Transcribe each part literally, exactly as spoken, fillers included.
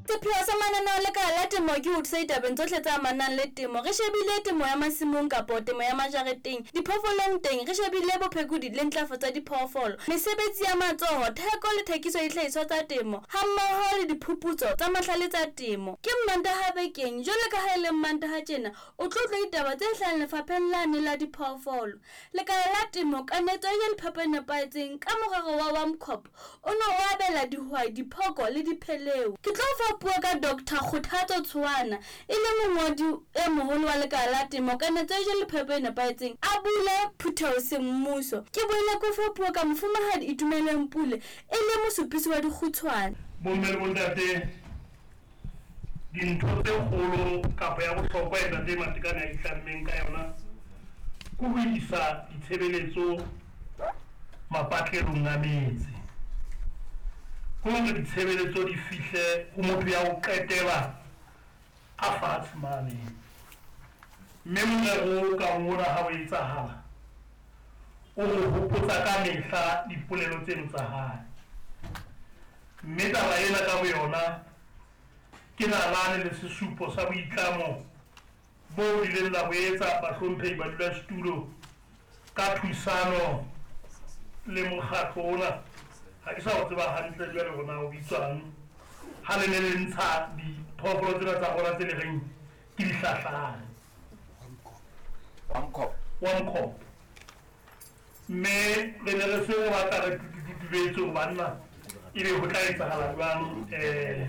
Sepheo sa mananeo a lekala la temo ke ho thusa ditabeng tsohle tse amanang le temo. Re shebile temo ya masimong kapo temo ya majareteng, diphoofolong teng re shebile bophekodi le ntlafatso ya diphoofolo, mesebetsi ya matsoho, theko le thekiso ya dihlahiswa tsa temo hammoho le diphuputso tsa mahlale tsa temo. Ke Mmantaha bekeng, jwalo ka ha e le Mmantaha tjena o tlo utlwa ditaba tse hlahang lefapheng lane la diphoofolo. Lekala la temo kanetso ya le phepo e nepahetseng ka morero wa WAMCOP o ne o abela dihwai diphoko le dipheleu. Ke tlo fa puo ka Doctor Kgothatso Tshoana e le mongodi e moholo wa lekala la temo kanetso ya le phepo e nepahetseng a bule phutheho semmuso. Ke boele ke fa puo ka mofumahadi Itumeleng Pule e le mosupisi wa dikgutshwane. Bomme le bontate, dintho tse kgolo kapa ya bohlokwa e ntate Matekane a itlammeng ka yona ke ho isa ditshebeletso mapatlelong a metse. Ke hore ditshebeletso di fihle ho motho ya ho qetela a fatshe mane. Mme morero o kang ona ha o etsahala, o re hopotsa ka mehla dipolelo tseno tsa hae. Mme taba ena ka boyona ke nalane le sesupo sa boitlamo bo ileng la bo etsa bahlomphehi badulasetulo ka thusano le mokgatlo ona. Ha ke sa o tseba hantle jwale hore na o bitswang ha le ne le ntsha diphoofolo tsena tsa rona tse le reng ke dihlahlane. WAMCOP. WAMCOP. Mme re ne re se re batla re tutubetse hore banna ebe ho tla etsahala jwang eh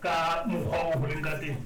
ka mokgwa o ho leng ka teng.